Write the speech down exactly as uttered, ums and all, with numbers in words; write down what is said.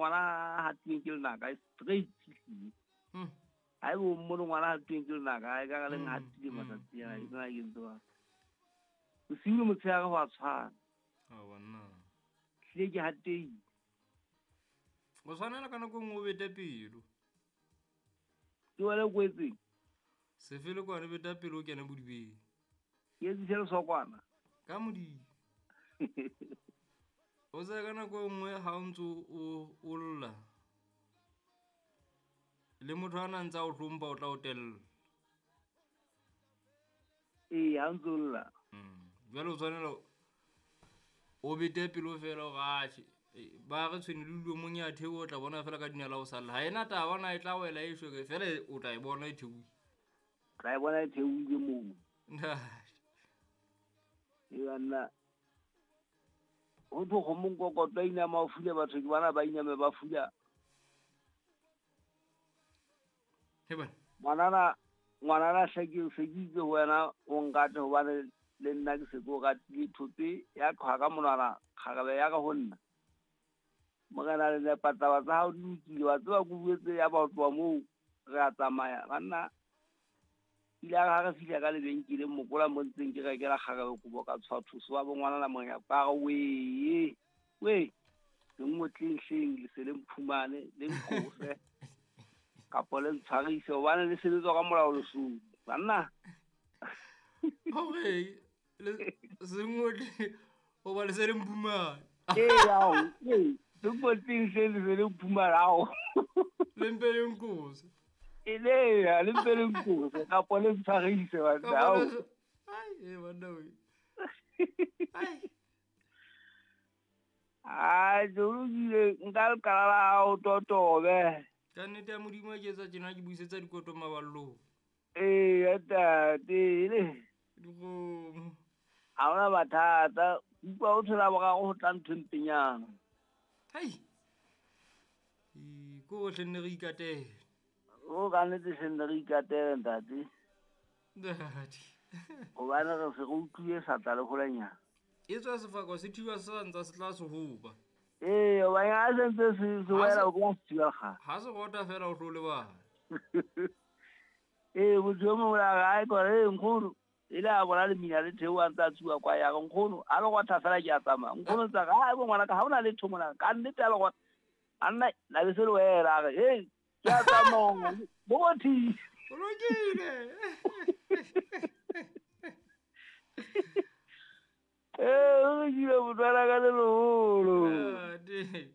ngwana hatileng ke lenaka straight. Mm. Ha ebe o mmone ngwana hatileng ke lenaka ha e ka le Mm, hatile mm, matsatsi ana mm. e tsena ke ntse ba. Bosiu le motshehare ho a tshwana. A banna. Hlile ke hatehile. O tshwanela ka nako e nngwe o bete pelo. Ke wena o kwetseng? Sefe le kwane beta pelo o kene bodibeng. Ke etsise lesokwana. Ka modimo. O tsebe ka nako e nngwe ha o ntso o o lla. Le motho a na ntse a o hlompha o tla o tella. Ee, ha ntso lla. Mm. Jwale o tshwanela o bete pelo fela o atjhe. Ba re tshwene le dilo mong ya theoha o tla bona fela ka dinala o salla. Ha ena taba na e tla wela e shwe fela o tla e bona e theohile. Tla e bona e theohile moo. Ntate. E banna. Ho thwe kgomo nkokotlo a inama o fula batho ke bana ba iname ba fula. He bana. Ngwanana, ngwanana hle ke se ke itse ho wena o nkate hobane le nna ke se ke o ratile thope ya qhwa ka monwana kgarebe ya ka ho nna. Morena le nepa taba tsa hao di lokile, wa tseba ke buetse ya ba ho tloha moo re a tsamaya. Banna ile a re ha re fihla ka lebenkeleng mokola mo ntseng ke rekela kgarebe kobo ka tshwa thuso wa bo ngwanana monyako a re wee, wee, le ngotleng hleng le se le mphumane le nqose kapa le ntshwarise hobane le sebetswa ka molao Lesotho. Banna. Hore le se ngotle hoba le se le mphumane. Ee, ao, ee, le ngotleng hleng le se le mphumane ao. Le mpe le nqose. E le ya, le mpe le nqose kapa le ntshwarise banna, Kapa ao. le se- Ai, e banna we. Ai. Ai, jolokile nka lekala la hao totobe. Ka nnete ya Modimo ha ke etsa tjena ke buisetsa dikoto maballong. Ee, ntate, le. Dikgomo. Ha hona mathata. Utlwa ho thola boraro ho tla ntho e mpenyana. Hai. E, ko hle nne re ikatele. O ka nnete hle nne re ikatele, ntate. Ntate. Hobane re se re utlwile sa tla le holanyana. E tswa sefako se thiba se sa ntsa se tla se hoba. Ee, hobane ha se ntse se, se Ha wela se o tla se thiba kgale. Ha se rota fela o tlo lebala. Ee, motho e mongwe a re, ai, kore, ee, nkgono, e le a bona lemina le theoha a ntse a tsuwa kwa ya re, nkgono, a le rotha fela ke a tsamaya. Nkgono ntse a re, ai, bo ngwanaka, ha hona letho mona, ka nnete a le rotha. A nna, la be se le wela, a re, hei, ke a tsamaya, bo rothile. O lokile. Ee, o lokile motho wa ka le leholo. Ntate.